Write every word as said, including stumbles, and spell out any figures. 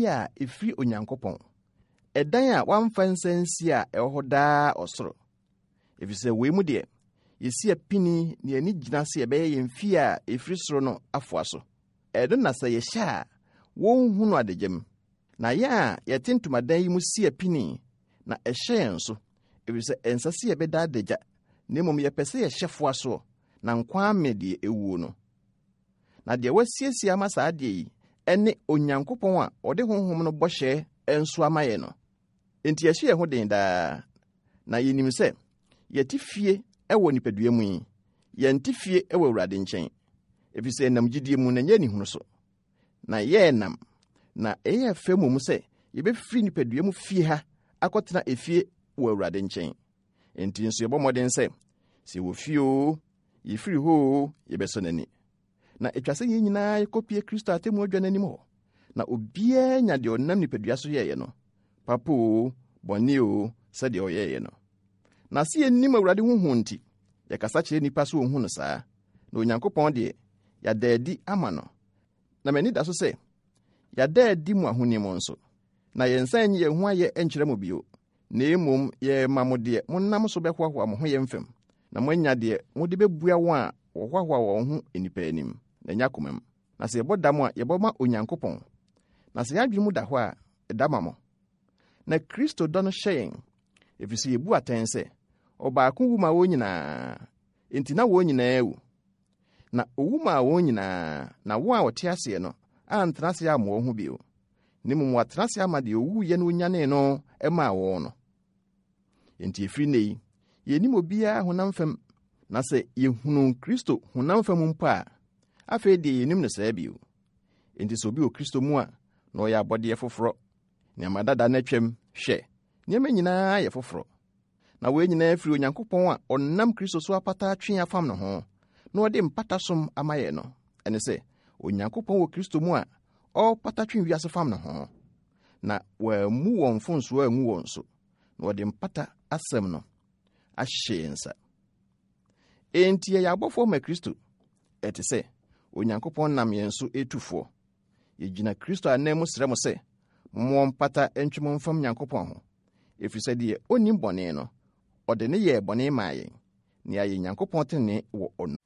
a ɛfiri Onyankopɔn, ɛdan a wɔamfa nsa ansi a ɛwɔ hɔ daa ɔsoro. Efisɛ wei mu deɛ, yɛsi apini na yɛn ani gyina sɛ yɛbɛyɛ yɛn fie a ɛfiri soro no afoa so. Ɛno na sɛ yɛhyɛ a, wɔnhu no adagyam. Na yɛn a yɛte ntomadan yi mu si apini na ɛhyɛ yɛn so, efisɛ ɛnsɛ sɛ yɛbɛda adagya, na mmom yɛpɛ sɛ yɛhyɛ foa soɔ, na nkwa ame deɛ ɛwuo no. Na deɛ wasiesie ama saa adeɛ yi ne Onyankopɔn a ɔde Honhom no bɔhyɛ nso ama yɛn no. Enti yɛhyɛ yɛn ho den daa, na yɛnim sɛ yɛte fie wɔ nipadua mu yi, yɛnte fie wɔ Awurade nkyɛn, efisɛ yɛnam gyidie mu na ɛnyɛ anihunu so. Na yɛrenam, na ɛyɛ fɛ mmom sɛ yɛbɛfiri nipadua mu fie ha akɔtena efie wɔ Awurade nkyɛn. Enti nso yɛbɔ mmɔden sɛ, sɛ yɛwɔ fie oo, yɛfiri hɔ oo, yɛbɛsɔ n'ani. Na etwa sɛ yɛn nyinaa yɛkɔpie Kristo atemmu adwa no anim hɔ, na obiara nya deɛ ɔnam nipadua so yɛeɛ no, papa oo, bɔne oo, sɛdeɛ ɔyɛeɛ no. Na sɛ yɛnnim Awurade ho hu nti, yɛkasa kyerɛ nnipa sɛ wɔnhu no saa, na Onyankopɔn deɛ, yɛada adi ama no. Na m'ani da so sɛ, yɛada adi mo ahonim nso. Na yɛnsan nyi yɛn ho ayɛ nkyerɛ mo bio, na mmom yɛrema mo deɛ monam so bɛhoahoa mo ho yɛn fam, na moanya deɛ mode bɛbua wɔn a wɔhoahoa wɔn ho nnipa anim, na ɛnyɛ akomam. Na sɛ yɛbɔ dam a, yɛbɔ ma Onyankopɔn. Na sɛ yɛn adwene mu da hɔ a, ɛda ma mo. Na Kristo dɔ no hyɛ yɛn, ɛfiri sɛ yɛbu atɛn sɛ, ɔbaako wu ma wɔn nyinaa, enti na wɔn nyinaa awu. Na owu maa wɔn nyinaa, na wɔn a wɔte aseɛ no antena ase amma wɔn ho bio, na mmom wɔatena ase ama deɛ owuiɛ no onyanee no maa wɔn no. Enti ɛfiri nnɛ yi, yɛnnim obiara honam fam, na sɛ yɛhunu Kristo honam fam mpo a, afei deɛ yɛnnim no saa bio. Enti sɛ obi wɔ Kristo mu a, na ɔyɛ abɔdeɛ foforɔ. Nneɛma dada no atwam, hwɛ, nneɛma nyinaa yɛ foforɔ. Na wɔn nyinaa firi Onyankopɔn a ɔnam Kristo so apata atwe afam ne ho, na ɔde mpata som ama yɛn no. Ɛne sɛ, Onyankopɔn wɔ Kristo mu a ɔrepata twe wiase fam ne ho. Na wɔammu wɔn mfomsoɔ angu wɔn so, na wɔde mpata asɛm no ahyɛ yɛn nsa. Enti yɛyɛ abɔfoɔ ma Kristo. Ɛte sɛ Onyankopɔn nam yɛn so etu foɔ. Yɛgyina Kristo anan mu srɛ mo sɛ, momma mpata ntwe mo mfam Nyankopɔn ho. Ɛfiri sɛ deɛ ɔnnim bɔne no, ɔde ne yɛɛ bɔne maa yɛn, na yɛayɛ Nyankopɔn tenenee wɔ ɔno.